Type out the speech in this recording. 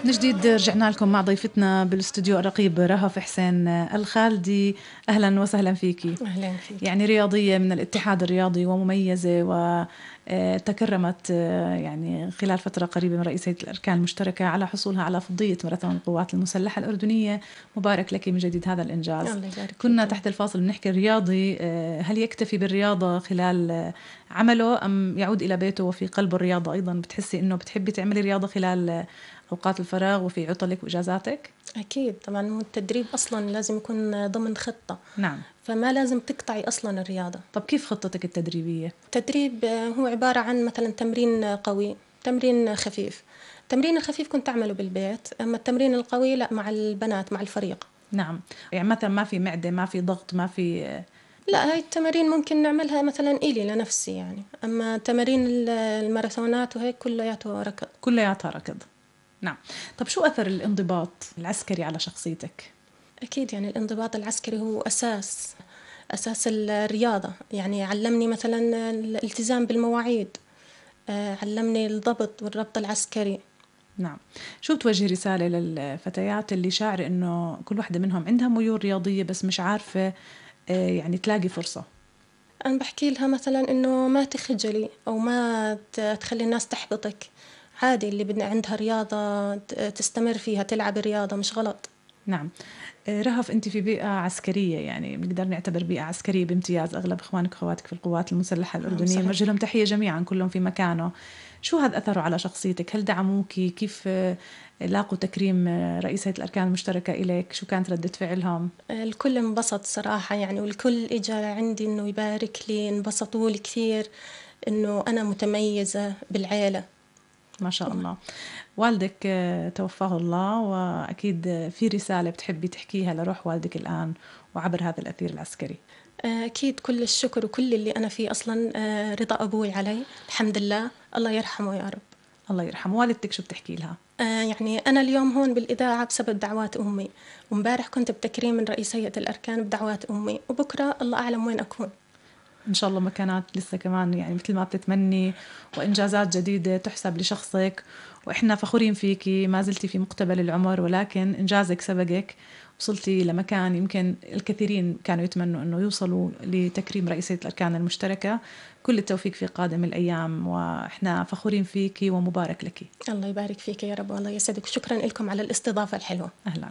من جديد رجعنا لكم مع ضيفتنا بالاستوديو الرقيب رهف حسين الخالدي. أهلا وسهلا فيكي. أهلا فيك. يعني رياضية من الاتحاد الرياضي ومميزة، وتكرمت يعني خلال فترة قريبة من رئيسية الأركان المشتركة على حصولها على فضية ماراثون القوات المسلحة الأردنية. مبارك لك من جديد هذا الإنجاز. الله يبارك كنا فيك. تحت الفاصل بنحكي الرياضي هل يكتفي بالرياضة خلال عمله أم يعود إلى بيته وفي قلب الرياضة أيضا؟ بتحسي إنه بتحبي تعملي رياضة خلال أوقات الفراغ وفي عطلك وإجازاتك؟ أكيد طبعا، التدريب أصلا لازم يكون ضمن خطة. نعم. فما لازم تقطعي أصلا الرياضة. طب كيف خطتك التدريبية؟ التدريب هو عبارة عن مثلا تمرين قوي، تمرين خفيف. التمرين الخفيف كنت أعمله بالبيت، أما التمرين القوي لا، مع البنات مع الفريق. نعم. يعني مثلا ما في معدة، ما في ضغط، ما في لا، هاي التمارين ممكن نعملها مثلا إلي لنفسي يعني، أما تمارين الماراثونات وهيك كلياته ركض. كلياتها ركض. نعم. طب شو أثر الانضباط العسكري على شخصيتك؟ أكيد يعني الانضباط العسكري هو أساس الرياضة. يعني علمني مثلا الالتزام بالمواعيد، علمني الضبط والربط العسكري. نعم. شو بتوجه رسالة للفتيات اللي شاعر إنه كل واحدة منهم عندها ميول رياضية بس مش عارفة يعني تلاقي فرصة؟ أنا بحكي لها مثلا إنه ما تخجلي أو ما تخلي الناس تحبطك. عادي، اللي بدنا عندها رياضة تستمر فيها، تلعب رياضة، مش غلط. نعم. رهف، أنت في بيئة عسكرية، يعني بنقدر نعتبر بيئة عسكرية بامتياز. أغلب إخوانك وأخواتك في القوات المسلحة الأردنية، نوجه لهم تحية جميعا كلهم في مكانه. شو هذا أثره على شخصيتك؟ هل دعموكي؟ كيف لاقوا تكريم رئيسة الأركان المشتركة إليك؟ شو كانت ردة فعلهم؟ الكل انبسط صراحة يعني، والكل إجا عندي إنه يبارك لي، انبسطوا لي كثير إنه أنا متميزة بالعيلة. ما شاء الله. والدك توفاه الله، وأكيد في رسالة بتحبي تحكيها لروح والدك الآن وعبر هذا الأثير العسكري. أكيد كل الشكر وكل اللي أنا فيه أصلا رضا أبوي علي، الحمد لله. الله يرحمه يا رب. الله يرحمه. والدتك شو بتحكي لها؟ يعني أنا اليوم هون بالإذاعة بسبب دعوات أمي، ومبارح كنت بتكريم من رئيس هيئة الأركان بدعوات أمي، وبكرة الله أعلم وين أكون. إن شاء الله مكانات لسه كمان يعني مثل ما بتتمني، وإنجازات جديدة تحسب لشخصك، وإحنا فخورين فيكي. ما زلتي في مقتبل العمر، ولكن إنجازك سبقك. وصلتي لمكان يمكن الكثيرين كانوا يتمنوا أنه يوصلوا لتكريم رئيسية الأركان المشتركة. كل التوفيق في قادم الأيام، وإحنا فخورين فيكي ومبارك لك. الله يبارك فيك يا رب، والله يسعدك. شكرا لكم على الاستضافة الحلوة. أهلا.